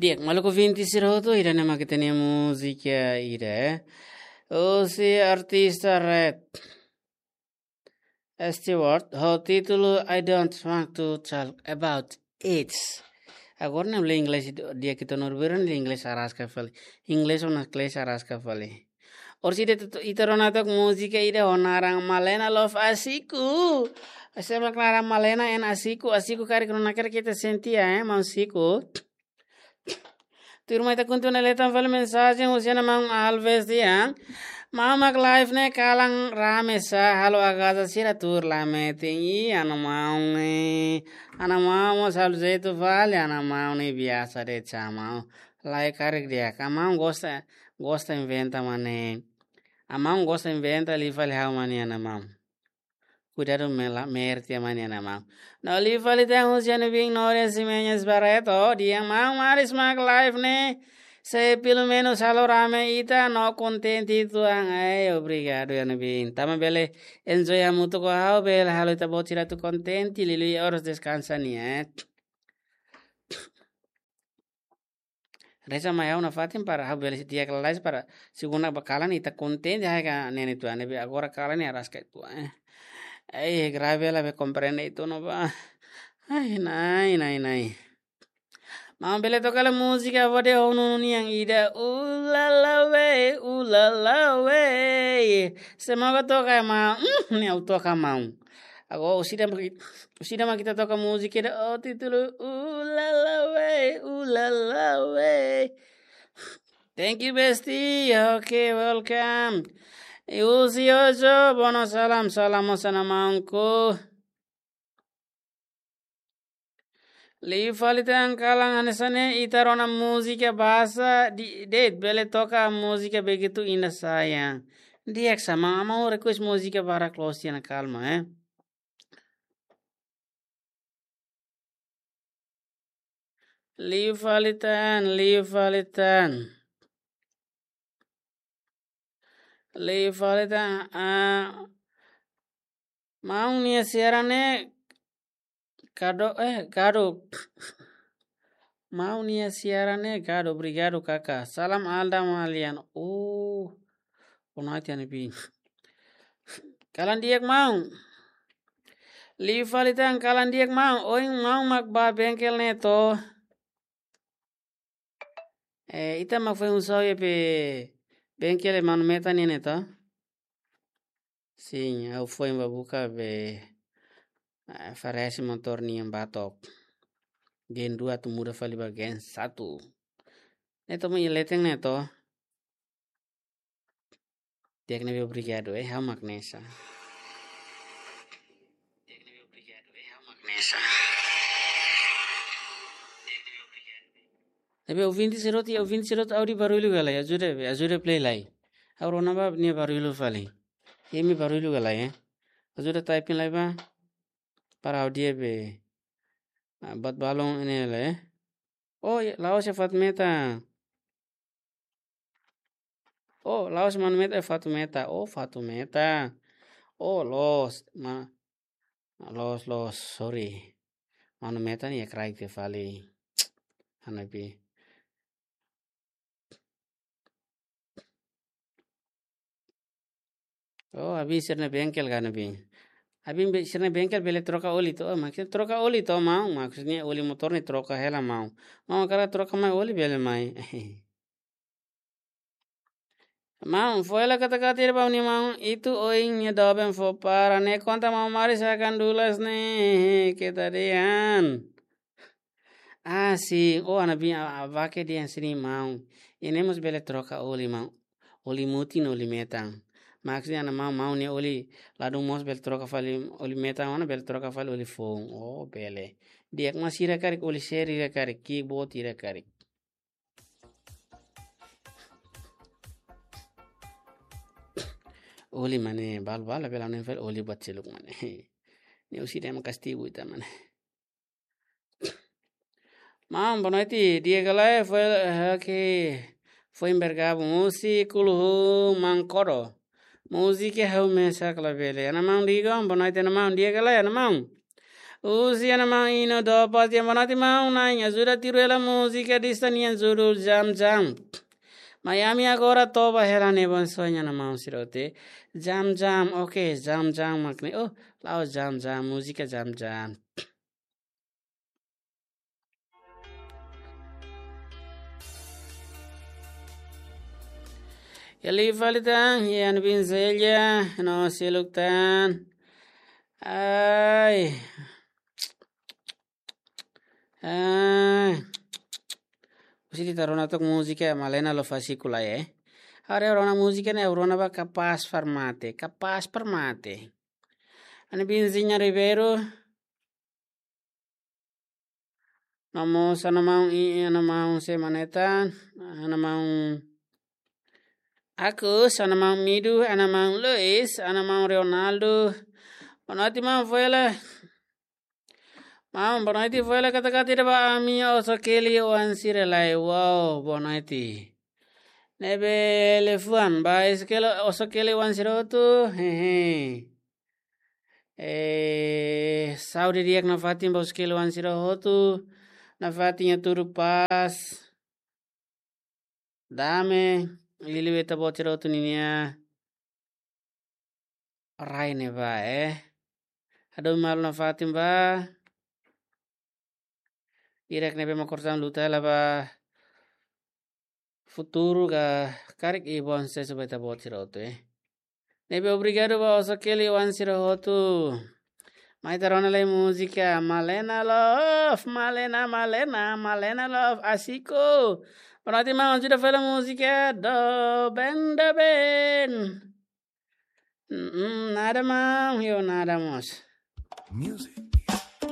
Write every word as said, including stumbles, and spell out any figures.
Di'ak, maluk ouvinte sira hotu, ida-ne'e mak ita-nia múzika ida, eh. Husi artista Rod Stewart, ho títulu I Don't Want to Talk About It. Agora ne'e lee inglés, di'ak, ita-nia orbira lee inglés araska fali. Inglés ona inglés araska fali. Orsida ita, ita rona took múzika ida ho naran Malena Love Asiku. Ese mak naran Malena en Asiku, Asiku karik rona karik ita sente, eh, maun Siku. Tuirmai ita kontinua lee tan fali mensajen husi ana maun Alves dehan: Maun, mak live ne'e kalan rame sá, halo agaza sira tuur la metin. Ih, ana maun ne'e. Ana maun mós halo jeitu fali, ana maun ne'e biasa de'it sá, maun. Lae, karik di'ak. Ana maun gosta, gosta inventa mak ne'e. Ana maun gosta inventa, liu fali ha'u mak ne'e, ana maun. Kuidadu mela, merte mak ne'e, ana maun. No liu fali tan husi Ana Bin Nore Ximenes Barreto, dehan: Maun, maris mak live ne'e, se pelumenus halo rame ita no kontente uitoan. Ai, obrigadu, Ana Bin. Tanba bele enjoy hamutuk ho ha'u, bele halo ita-boot sira atu kontente, liuliu oras deskansa nian, eh. Reza mai ha'u nafatin para ha'u bele di'ak lalais, para segunda ba kalan ita kontente, ha'u ka nene tua ne'ebé agora kalan ne'e araska uitoan, eh. Ai, grave la be komprende uitoan ona ba. Ai, nai, nai, nai. Maun, bele toka hela múzika Vode Honu nian ida, Ulala We, Ulala We. Semoga toka, maun. Hmm, ne'e ha'u toka, maun. Agora orsida mak, orsida mak ita toka múzika ida ho títulu Ulala We, Ulala We. Thank you, bestie. Okay, welcome. Husi Ojo, bono salam, salam mós ana maunku. Liu fali tan kalan hanesan ne'e ita rona múzika bahasa di, de'it, bele toka múzika Begitu Indah Sayang. Di'ak sá, maun, maun request múzika barak loos tiha ona, kalma, eh. Liu fali tan, liu fali tan. Liu fali tan, ah, maun nia siaran ne'e gadu, eh, gadu. Maun nia siaran ne'e gadu, obrigadu, kaka. Salam Alda Malian. Oh, boa noite, Ana Bin. Kalan di'ak, maun. Liu fali tan, kalan di'ak, maun. Ohin maun mak bá bengkel ne'e to? Eh, ita mak foin husu iha be bengkel Manu Meta nian ne'e to? Sin, ha'u foin bá buka be, eh, variasi motór nian ba took. Gen dua atu muda fali ba gen satu. Ne'e to, maun, iha leten ne'e to? Di'ak, ne'ebé obrigadu, eh, ha'u mak ne'e sá. Ne'ebé ouvinte sira hotu, ouvinte sira hotu, áudiu barullu ka lae, ajuda, ajuda play lai. Ha'u rona ba nia barullu fali. Imi barullu ka lae, eh. Ajuda typing lai ba. Para áudiu be, ah, buat balun ne'e lae, eh. Oh, ya, la'ós iha Fatumeta. Oh, la'ós Manu Meta, eh, Fatumeta. Oh, Fatumeta. Oh, loos. Ma-, loos, loos, sorry. Manu Meta ne'e iha kraik tiha fali. Ana Bin. Oh, Ana Bin sira-nia bengkel ka, Ana Bin? Ana Bin be-, sira-nia bengkel bele troka oli to? Oh, maksudnya troka oli to, maun? Maksudnya oli motór ne'e troka hela, maun. Maun hakarak troka mai oli, bele mai. Maun, fó hela kata-kata ida ba ha'u-nia maun Itu, ohin nia doben fó para ne'e, konta maun Maris hakan dulas ne'e, keta dehan. Ah, sin. Oh, Ana Bin, a, a, bake dehan sini, maun. Ida-ne'e mós bele troka oli, maun. Oli mutin, oli metan. Maksudnya, ana maun, maun nia oli ladún mós bele troka fali, oli metan ona bele troka fali oli foun. Oh, bele. Di'ak, mas sira karik, oli seri ida karik, keyboard ida karik. Oli mak ne'e, balu-balu bele ne'e fali oli buat seluk mak ne'e. Ne'e husi dema kastigu ita mak ne'e. Maun, boa noite, di'ak ka lae, foin, eh, oke. Foin bergabung husi Kuluhu Mankodo. Múzika ha'u mesak labele. Ana maun Digon, boa noite, ana maun, di'ak ka lae, ana maun? Husi ana maun Ino Dopas, boa noite maun, na'in ajuda tiru hela múzika Dista nian judul Jam Jam. Miami agora toba hela ne'e, bom sonho, ana maun sira hotu. Jam Jam, oke, Jam Jam mak ne'e. Oh, la'ós Jam Jam, múzika Jam Jam. Eli fali tan, iha Ana Bin Zelia, no seluk tan. Ai. Ai. Husi ita rona tok múzika Malena Love Asiko lai, eh. Agora rona múzika ne'e, rona ba Kapás para Mate, Kapás para Mate. Ana Binzinha Ribeiro. No mós ana maun i, ana maun sé mak ne'e tan, ana maun Agus, ana maun Midu, ana maun Luis, ana maun Ronaldo. Boa noite maun, foin hela. Maun, boa noite, foin hela katak ita ba ami, oso Keli oan sira lai. Wow, boa noite. Ne'ebé liafuan ba Ezequiel, oso Keli oan sira hotu. Hehe. Eh, saúde di'ak nafatin ba oso Keli oan sira hotu. Nafatin iha tudu pás. Dame, liuliu ita-boot sira hotu ninia rai ne'ebá, eh. Hadomi malu nafatin ba. Di'ak ne'ebé mak konsege luta hela ba futuru ka karik i bom susesu ba ita-boot sira hotu, eh. Ne'ebé obrigadu ba oso Keli oan sira hotu. Mai ita rona lai múzika Malena Love, Malena, Malena, Malena Love Asiko. Boa noite maun, ajuda fali múzika Doben Doben. Mm, nada maun, yo nada mós. Music.